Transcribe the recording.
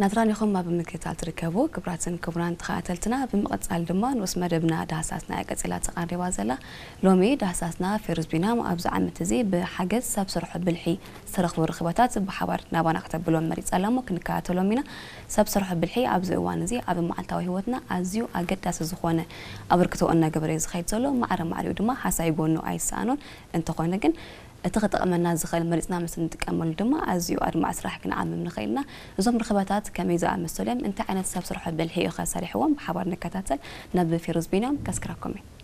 ናትራን ኢኹም ኣብ ምክትታል ትርከቡ። ክቡራትን ክቡራን ተኸታተልትና፣ ብምቕጻል ድማ ንኡስ መደብና ዳህሳስና እያ ቀጺላ ተቓሪባ ዘላ። ሎሚ ዳህሳስና ፌሩዝ ቢንያም ኣብዚ ዓመት እዚ ብሓገዝ ሰብ ሰርሖ ብልሒ ዝተረኽቡ ርኽበታት ብሓባር ናባና ክተብሎም መሪጻ ኣላ እሞ ክንከታተሎም ኢና። ሰብ ሰርሖ ብልሒ ኣብዚ እዋን እዚ ኣብ መዓልታዊ ህይወትና ኣዝዩ ኣገዳሲ ዝኾነ ኣበርክቶ እናገበረ እዩ ዝኸይድ ዘሎ። ማዕረ ማዕሪኡ ድማ ሃሳይ ጎኑ ኣይሰኣኖን። እንተኾነ ግን እቲ ክጠቕመና ዝኽእል መሪጽና ምስ እንጥቀመሉ ድማ ኣዝዩ ኣድማዕ ስራሕ ክንዓምም ንኽእል ኢና። እዞም ርኽበታት ከመይ ዝኣመሰሉ እዮም? እንታይ ዓይነት ሰብ ሰርሖ ብልሒ እዩ ኸ ሰሪሕዎም? ብሓባር ንከታተል። ናብ ፌሩዝ ቢንያም ከስክረኩም እየ።